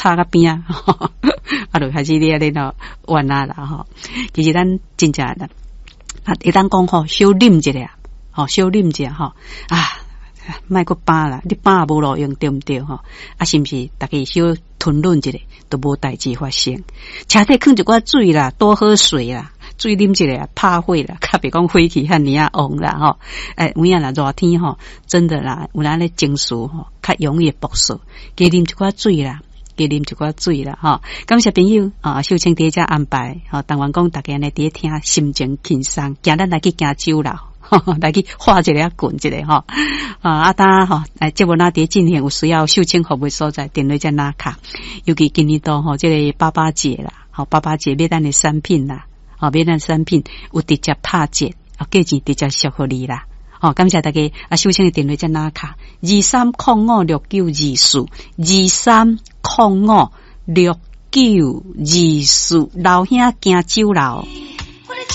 插較邊仔，啊，就開始咧咧喏玩啊啦吼。其實咱真正啦，啊，會當講吼，小啉一下，吼，小啉一下吼，啊，莫閣飽啦，你飽也無路用，對毋對吼？啊，是毋是？逐家小吞忍一下，都無代誌發生。車底囥一寡水啦，多喝水啦。水啉一下，拍火啦，較袂講火氣遐爾仔旺啦吼。欸，有影啦，熱天吼，真的啦，有咱咧情緒吼，較容易爆發。加啉一寡水啦，加啉一寡水啦吼。感謝朋友啊，秀清佇遮安排吼，但願講逐家呢佇咧聽，心情輕鬆。今咱來去行酒樓，來去喝一下滾一下吼。啊，當吼，哎，節目若佇進行有需要秀清服務所在，電話才拿卡。尤其今年度吼，這個爸爸節啦，吼，爸爸節買咱的產品啦。哦，買咱產品有直接拍折，哦，價錢直接俗予你啦。哦，感謝大家。啊，秀清的電話才拿卡，23056924，23056924，老兄行酒樓。